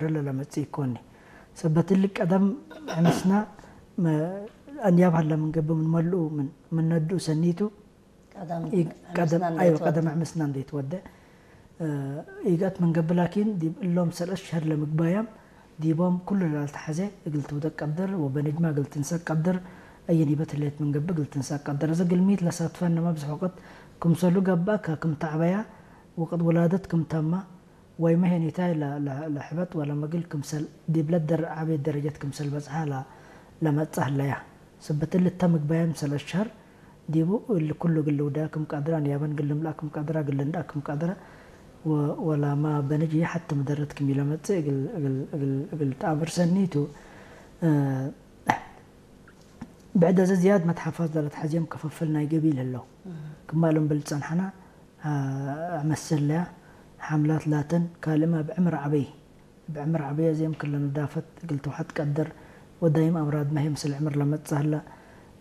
ረለ ለመጽእ ይኮኒ። ሰበትሊ ቀደም ዕምስና መ-፣ አንያብ ሀለ ምንገብእ ምን መልኡ ምን፣ ምን ነድኡ ሰኒቱ ቀደም ይ-፣ ቀደም፣ ዕምስና ኣይወ፣ እንዳይተወደ። ቀደም ዕምስና እንዳይተወደ። እ፣ ይገት ምንገብእ ላኪን ዲብ እሎም ሰለስ ሸህር ለምግባያም ዲቦም ኩሉ ላልተሐዜ እግል ትውደቅ ቀድር ወበንጅማ እግል ትንሰቅ ቀድር። አየን ይበት ህሌት ምንገብእ እግል ትንሰቅ ቀድር። እዚ ግልሚት ለሳትፈ እነማ ብዝሕ ወቅት ክምሰሉ ገብአ ከክም ተዕበያ ወቅት ውላደት ክም ተማ ወይ መሄኒታይ ለ-፣ ለ-፣ ለሕበጥ ወለ መግል ክምሰል ዲብለት ደር-፣ ዓብየት ደረጀት ክምሰል በጽሓ ለ-፣ ለመጽእ ህለያ። ስብት እሊ እተ ምግባየም ሰለስ ሸህር ዲቡ እሊ ኩሉ እግል ልውዳ ክም ቀድር፣ አንያበን እግል ልምልኣ ክም ቀድራ፣ እግል ልንድኣ ክም ቀድራ፣ ወ-፣ ወላማ በንጅ ሐቲ ምደረት ክም ኢለመጽእ እግል፣ እግል፣ እግል፣ እግል ተአምር ሰኒቱ። እ፣ ብዕድ እዚ ዝያድ መትሓፋዝ ለለትሐዝዮም ክፍፍል ናይ ገቢል ህለው። ክማሎም ብል ጸንሐና፣ አ-፣ አመስለያ ሓምላት ላተን ካልእማ ብዕምር ዓበይ፣ ብዕምር ዓበይ እዚኦም ክለ ነዳፈት እግል ትውሐጥ ቀድር ወዳይም አምራድ ማሄ ምስል ዕምር ለመጽእ ህላ።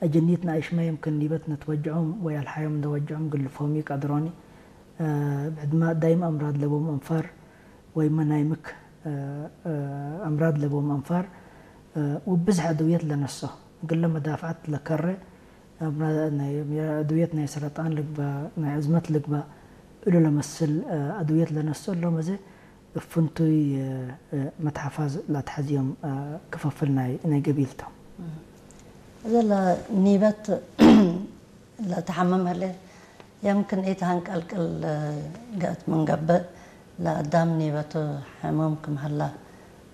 አጀኒት ነአይሽማ የምክን ኒበት ነትወጅዖም ወይ አልሓዮም እንደወጅዖም ግልፎም ይቀድሮኒ። አ፣ ብዕድማ ዳይም አምራድ ለቦም አንፋር ወይመ ናይ ምክ፣ እ፣ እ፣ አምራድ ለቦም አንፋር፣ እ፣ ውብዝሕ አድውየት ለነሶ፣ ግለ መዳፍዓት ለከረ፣ አምራ-፣ ናይ፣ አድውየት ናይ ሰረጣን ልግባ፣ ናይ አዝመት ልግባ፣ እሉ ለመስል፣ እ፣ አድውየት ለነሶ እሎም እዚ እፍንቱይ፣ እ፣ እ፣ መትሓፋዝ ላትሐዝዮም፣ እ፣ ክፈፍል ናይ፣ ናይ ገቢልቶም። እዘ ለኒበት ለተሐምም ህሌት፣ የምክን ኢተሀንቀልቅል ገእት ምንገብእ፣ ለአዳም ኒበቱ ሕሙም ክም ሀላ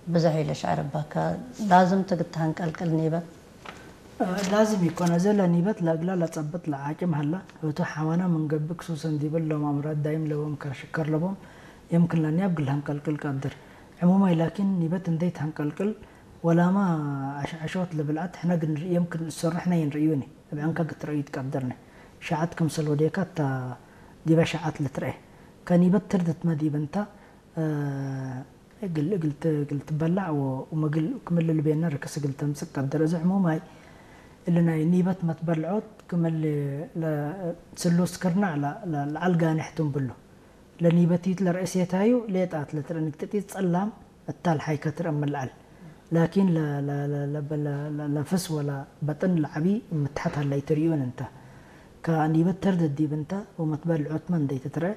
ብዞሕ ኢለሽዐር እባከ፣ ላዝም ትግተሀንቀልቅል ኒበት? ላዝም ኢኮን፣ እዘ ለኒበት ለእግላ ለጸብጥ ለዓጭም ሀላ፣ እቱ ሐዋና ምንገብእ ክሱሰን ዲብ እሎም አምራድ ዳይም ለቦም ከሽከር ለቦም፣ የምክን ለኒያብ ግልሀንቀልቅል ቀድር። ዕሙማይ ላኪን ኒበት እንዴ ተሀንቀልቅል፣ ወላማ አሽዐሾት ለብልዐት ሕነ ግንርኢ፣ የምክን እሰሩ ሕነ ይንርእዩኒ። እብ ዕንከ ግትረኡ ይትቀደርነ። ሸዐት ክምሰል ወዴካ እታ ዲበ ሸዐት ልትርኤ። ከኒበት ትርድትመ ዲብ እንተ፣ እ፣ እግል፣ እግል ት-፣ እግል ትበላዕ ወ-፣ ወመግል ክምል ልቤነ ርክስ እግል ተምጽእ ቀድር። እዚ ዕሙማይ እሊ ናይ ኒበት መትበልዖት ክምል ለ-፣ ስሉስ ክርናዕ ለ-፣ ለ-፣ ለዐል ጋኔሕ ትንብሉ። ለኒበቲት ለርእሴታዩ ሌጣት ለትረንግጥጢት ጸላም እታ ለሓይከ ትረአ እምልዓል። ላኪን ለ-፣ ለ-፣ ለ-፣ ለ-፣ ለ-፣ ለ-፣ ለፍስ ወላ በጥን ለዐቢ እምትሐት ሀላይ ትርእዩን እንተ። ከኒበት ተርደት ዲብ እንተ ወመትበልዖትመ እንዴ ትትረአ፣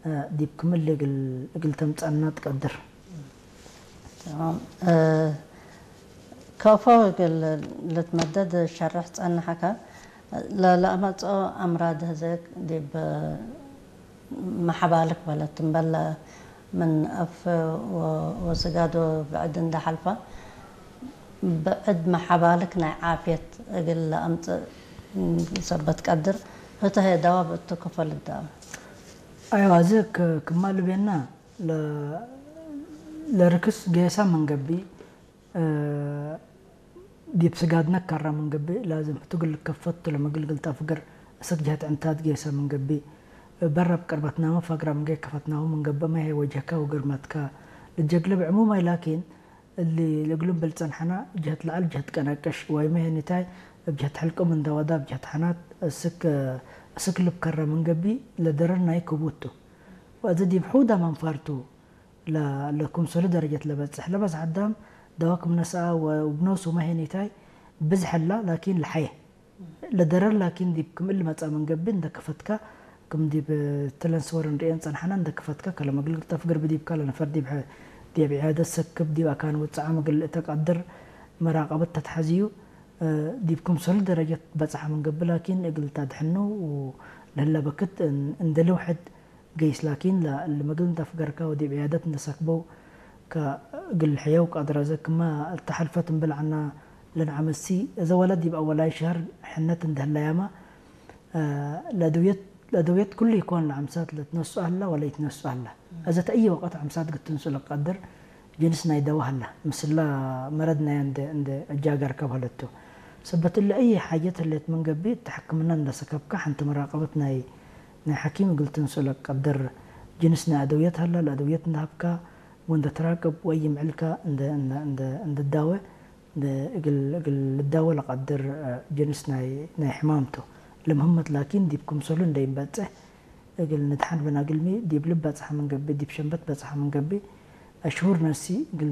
እ፣ ዲብ ክምል እግል፣ እግል ተምጸአና ትቀድር። ተማም። እ፣ ከፎ እግል ልትመደድ ሸርሕ ጸንሐከ፣ ለ-፣ ለአመጽኦ አምራድ ህዘ ዲብ መሐባልክ በለት እምበለ ምን አፍ ወ-፣ ወስጋዶ ብዕድ እንደ ሐልፋ፣ ብዕድ መሐባልክ ናይ ዓፍየት እግል ለአምጽእ ሰበት ቀድር፣ ህተ ህየ ደዋብ እቱ ክፈል እዳ። አይዋ፣ እዚ ክ-፣ ክማ ልቤና ለ-፣ ለርክስ ጌሳ ምንገብእ፣ እ፣ ዲብ ስጋድነ ከራ ምንገብእ፣ ላዝም ህቱ እግል ልከፈቱ ለመግልግል ተፍግር፣ እስክ ጀህት ዕንታት ጌሰ ምንገብእ፣ በረብ ቅርበትናመ ፈግራ ምንጌ ከፈትናሁ ምንገብእ፣ መሄ ወጀህካ ወግርመትካ ልጀግልብ ዕሙማይ ላኪን፣ እሊ ለእግሉም ብል ጸንሐና፣ ጀህት ለዐል ጀህት ቀነቅሽ፣ ወይ መሄ ኒታይ እብ ጀህት ሕልቁም እንደ ወዳ፣ እብ ጀህት ሐናት እስክ፣ እስክ ልብ ከረ ምንገብእ፣ ለደረር ናይ ክቡቱ። ወእዚ ዲብ ሑዳ መንፋርቱ፣ ለ-፣ ለክምሰሉ ደረጀት ለበጽሕ፣ ለበዝሕ አዳም ደዋ ክም ነስአ ወ-፣ ወብኖሱ መሄኒታይ ብዝሕ እላ፣ ላኪን ለሐየ። ለደረር ላኪን ዲብ ክም እሊ መጽአ ምንገብእ እንደ ከፈትካ፣ ክም ዲብ ትለን ስወር እንርእየን ጸንሐና እንደ ከፈትካ፣ ከለመግልግል ተፍግር ብዲብካ ለነፈር ዲብ ሐ-፣ ዲብ ዕያደት ሰክብ፣ ዲብ አካን ውጽዓ ምግል እተ ቀድር መራቀበት ተትሐዝዩ፣ እ፣ ዲብ ክምሰሉ ደረጀት በጽሐ ምንገብእ ላኪን እግል ታድሕኑ ለህለ በክት እን-፣ እንደ ልውሕድ ገይስ ላኪን ለ-፣ ለመግል እንተ አፍገርካ ወዲብ ዕያደት እንደ ሰክበው ከእግል ሕየው ቀድረ። እዘ ክመ እልተ ሐልፈት እምብል ዐና ለንዓመሲ፣ እዘ ወለት ዲብ አወላይ ሸህር ሕነት እንደ ህለያማ፣ እ፣ ለአድውየት፣ ለአድውየት ኩሉ ኢኮን ለዐምሳት ለትነሱ አላ ወለ ይትነሱ አላ። እዘ ተአየ ወቀት ዐምሳት ግትንሱ ለቀድር ጅንስ ናይ ደዋ ሀላ፣ ምስላ መረድ ናይ እንደ፣ እንደ እጃገር ከብሀለቱ። ሰበት እለ አየ ሓጀት ህሌት ምን ገብእ፣ እተ ሕክምና እንደ ሰከብካ፣ ሐንቲ መራቀበት ናይ፣ ናይ ሐኪም እግል ትንሱ ለቀድር ጅንስ ናይ አደውየት ሀላ፣ ለአደውየት እንደ ሀብካ ወእንደ ትራቅብ ወይ ይምዕልካ እንደ፣ እንደ፣ እንደ፣ እንደ ዳወ፣ እንደ እግል፣ እግል ልዳወ ለቀድር፣ እ፣ ጅንስ ናይ፣ ናይ ሕማምቱ። ለምህመት ላኪን ዲብ ክምሰሉ እንደ ይንበጽሕ፣ እግል ንድሓን ብናግልሚ ዲብ ልብ በጽሐ ምን ገብእ፣ ዲብ ሸንበት በጽሐ ምን ገብእ፣ አሽሁር ነሲ እግል